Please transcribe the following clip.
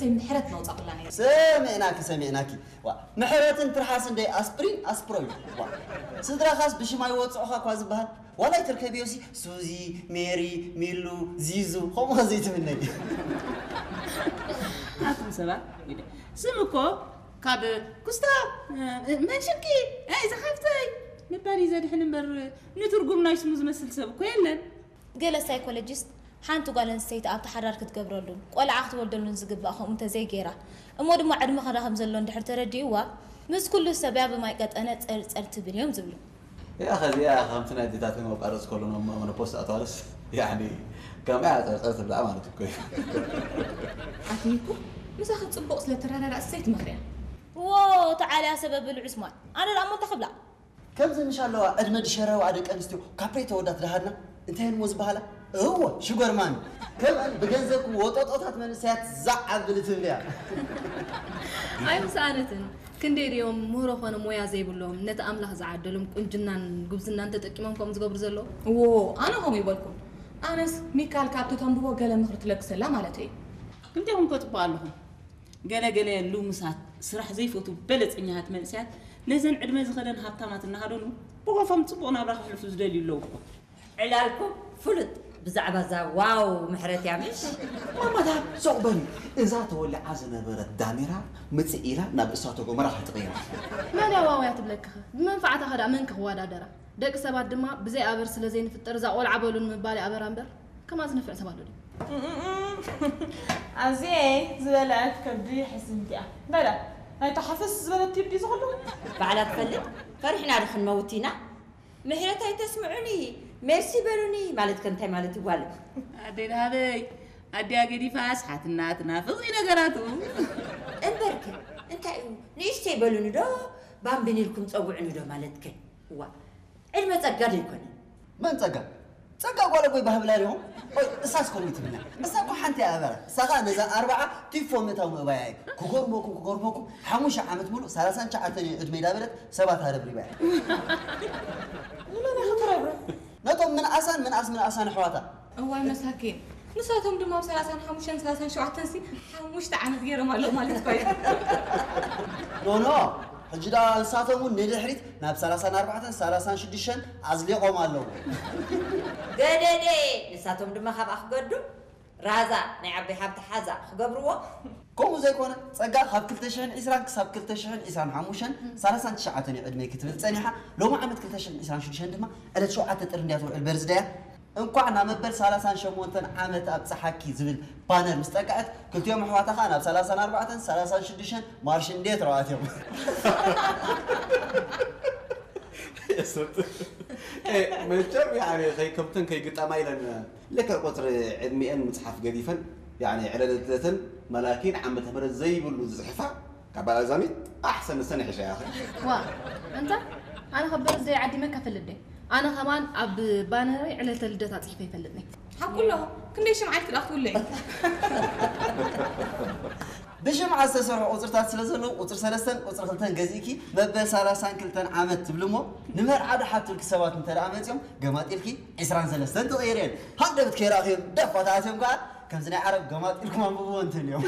ሰይ ምሕረት መውፃእ ኩላ ነይሩ። ሰሚዕናኪ ሰሚዕናኪ። ዋ፣ ምሕረትን ትርሓስ እንደ ኣስፕሪን ኣስፕሮይ። ዋ፣ ስድራኻስ ብሽማ ይወፅዑኻ እኳ ዝበሃል። ዋላ ይትርከብዮሲ ሱዚ፣ ሜሪ፣ ሚሉ፣ ዚዙ፣ ከምኡ ዘይትምነይ። ኣቱም ሰባት፣ ስም እኮ ካብ ኩስታ፣ መን ሽምኪ፣ ኣይ ዝሓፍተይ ምባል እዩ ዘድሕን እምበር፣ ንትርጉም ናይ ስሙ ዝመስል ሰብ እኮ የለን። ገለ ሳይኮሎጂስት ሓንቲ ጓል ኣንስተይቲ ኣብቲ ሓዳር ክትገብረሉን ቆልዓ ክትወልደሉን ዝግባእ ከምኡ እንተዘይገይራ እሞ ድማ ዕድመ ክዳ ከም ዘሎ እንድሕር ተረዲእዋ ምስ ኩሉ ሰብያ ብማይ ቀጠነ ጸርጸር ትብል እዮም ዝብሉ። እያ ኸዚኣ ከምቲ ናይ ኣዴታተን መቋረፂ ከሎ ናብ መኖፖስ ኣተዋለስ ያኒ ከምኣ ጸርጸር ትብላ ማለት እኮ እዩ። ኣትኒኩ ምሳኺ ጽቡቕ ስለ ትረዳዳእ ሰይት ምኽርያ ዎ ተዓልያ ሰበብ ብልዑ ስማል ኣነ ደኣ እሞ እንታይ ክብላ ከምዚ ምሽ ኣለዋ ዕድመ ድሸረዋ ደቂ ኣንስትዮ ካፕሬ ተወዳት ደሃድና እንታይ እሞ ዝበሃላ እወ ሽጎርማን ከምኣን ብገንዘብኩም ወጦጦታት መንእሰያት ዛዕ ኣብሊ ትብልያ ኣይምሰኣነትን ክንደይ ድዮም ምህሮ ኾነ ሞያ ዘይብሎም ነቲ ኣምላኽ ዝዓደሎም ቁንጅናን ጉብዝናን ተጠቂሞም ከምኡ ዝገብሩ ዘለዉ እዎ ኣነ ከምኡ ይበልኩም ኣነስ ሚካል ካብቲ ተንብቦ ገለ ምኽሪ ትለግሰላ ማለተይ እዩ ክልቴኹም ከ ጽቡቕ ኣለኹም ገለ ገለ ልሙሳት ስራሕ ዘይፈትዉ በለጸኛታት መንእሰያት ነዘን ዕድመ ዝኸደን ሃብታማት እናሃደኑ ብኾፎም ጽቡቕ ናብራ ከሕልፉ ዝደልዩ ኣለዉ እኮ። ዕላልኩም ፍሉጥ ብዛዕባ እዛ ዋው ምሕረት እያ ምሽ? ማማታ ሱቕ በሊ እዛ ተወሊዓ ዝነበረት ዳሜራ ምጽእ ኢላ ናብ እሳተ ጎመራ ክትቕየር። መን እያ ዋው እያ ትብለኪ ኸ? ብመንፍዓታ ኸ ደኣ መን ከ ክወዳደራ? ደቂ ሰባት ድማ ብዘይ ኣበር ስለ ዘይንፍጠር እዛ ቆልዓ በሉኒ ምባል ይኣበራ እምበር ከማዚ ንፍዕ ሰብ ኣሎ ድዩ? ኣዚኤ ዝበልዐት ከብዲ ሕስምቲ እያ በላ ናይታ ሓፈስ ዝበለት ቲብ ድዩ ዝኽሉ? ባዕላ ትፈልጥ ፈሪሕና ዶ ክንመውት ኢና? ምሕረት ኣይተስምዑኒ ሜርሲ በሉኒ ማለት ከ እንታይ ማለት እዩ ጓለይ? ኣደይ ደሃበይ ኣዲኣ ገዲፋስ ሓትናትና ፍቕሪ ነገራቱ። እምበርከ እንታይ እዩ ንእሽተይ በሉኒ ዶ ባምቢን ኢልኩም ጸውዑኒ ዶ ማለትከ? እዋ ዕድመ ጸጋ ዶ ኣይኮነን? መን ጸጋ? ጸጋ ጓል ኣቦይ ባህብላ ዲኹም? ቆይ እሳስ ከምኡ ትብልና? እሳ እኮ ሓንቲ እያ ኣበራ። እሳ ኸኣ ነዛ ኣርብዓ ቲፎ ምእታው ምእባያ እዩ። ክገርመኩም ክገርመኩም ሓሙሽተ ዓመት ሙሉእ ሰላሳን ትሽዓተን እዩ ዕድመይ ዳበለት ሰባት ኣረብሪባ እያ። ንመን ኢኺ ትረብርብ? ነቶም ምንኣሳን ምንኣስ ምንኣሳን ኣሕዋታ። እዋይ መሳኪን ንሳቶም ድማ ኣብ ሰላሳን ሓሙሽተን ሰላሳን ሸውዓተን ሲ ሓሙሽተ ዓመት ገይሮም ኣለዉ ማለት እኮ እዩ። ኖኖ ሕጂ ደኣ ንሳቶም እውን ንድሕሪት ናብ ሰላሳን ኣርባዕተን ሰላሳን ሽዱሽተን ኣዝሊቖም ኣለዉ። ገደደ ንሳቶም ድማ ካብኣ ክገዱ ራዛ ናይ ዓበይ ሃብቲ ሓዛ ክገብርዎ። ከምኡ ዘይኮነ ጸጋ ካብ ክልተ ሽሕን ዕስራን ክሳብ ክልተ ሽሕን ዕስራን ሓሙሽተን ሰላሳን ትሽዓተን እዩ ዕድመይ ክትብል ጸኒሓ ሎሚ ዓመት ክልተ ሽሕን ዕስራን ሽዱሽተን ድማ ዕለት ሸውዓተ ጥሪ እንድያ ትውዕል በርዝደያ። እንኳዕ ናብ መበል ሰላሳን ሸሞንተን ዓመት ኣብፀሓኪ ዝብል ባነር ምስ ጠቅዐት ክልቲኦም ኣሕዋታ ከዓ ናብ ሰላሳን ኣርባዕተን ሰላሳን ሽዱሽተን ማርሽ እንዴት ረዋት እዮም መቸም ከይከብተን ከይግጠማ ኢለን ልክዕ ቁፅሪ ዕድሚአን ምፅሓፍ ገዲፈን ዕለለተን መላኪን ዓመተ ምህረት ዘይብሉ ዝፅሕፋ ካብ ኣዛሚት ኣሕሰን ንሰን ይሕሻ ያኸ ዋ እንታ ኣነ ከ በርዝደይ ዓዲመካ ፈልጥ ደ ኣነ ከማን ኣብ ባነረይ ዕለተ ልደታ ፅሒፈ ይፈልጥ ነይ ሓቁሎ ክንደይ ሽምዓት ክዳ ክትውለይ ብሽምዓ ዝተሰርሑ ቁፅርታት ስለ ዘለዉ ቁፅሪ ሰለስተን ቁፅሪ ክልተን ገዚእኪ መበል ሰላሳን ክልተን ዓመት ትብሊ እሞ ንመርዓ ዶ ሓቱልኪ ሰባት እንተ ደኣ መፂኦም ገማጢልኪ ዒስራን ሰለስተን ትቕይርየን ሃንደበት ከይረኣኽዮም ደፋታት እዮም ከዓ ከምዚ ናይ ዓረብ ገማጢልኩም ኣንብብዎ እንትልዮም